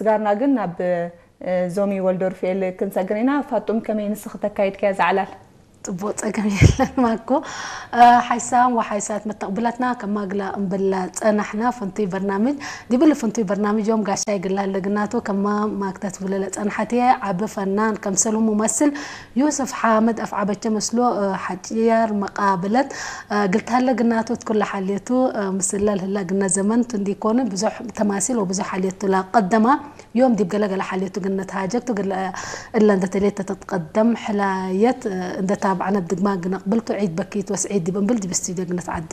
ስጋርና ግን ናብ ዞሚ ወልዶርፍኤል ክንሰግር ኢና። ፋጡም፣ ከመይ ንስኺ ተካይድካያ ዛዕላል? ጽቡቅ፣ ጸገም የለን ማኮ። ሓይሳም ወሓይሳት መተቕብላትና ከማግላ እምብላ ጸናሕና። ፍንቱይ በርናምጅ ዲብል ፍንቱይ በርናምጅ ዮም ጋሻይ ግላ ለግናቶ ከማ ማክታት ብለለ ጸንሓት ዓቢ ፈናን ከምሰሉ ሙመስል ዩስፍ ሓመድ ኣፍዓበቸ መስሎ ሓጭያር መቃብለት ግልታለ ግናቶት ኩላ ሓልየቱ ምስላ ልህላ ግና ዘመን ትንዲኮነ ብዙሕ ተማሲል ወብዙሕ ሓልየቱ ላቀደማ ዮም ዲብ ገለገለ ሓልየቱ ግነት ሃጀግቱ እላ እንደተሌት ተትቀደም ሕላየት እንደታብዓነ ብድግማ ግነቅብልቱ ዒድ በኪት ወስዒድ ዲብ እምብል ዲብ ስቱዲዮ ግነት ዓዴ።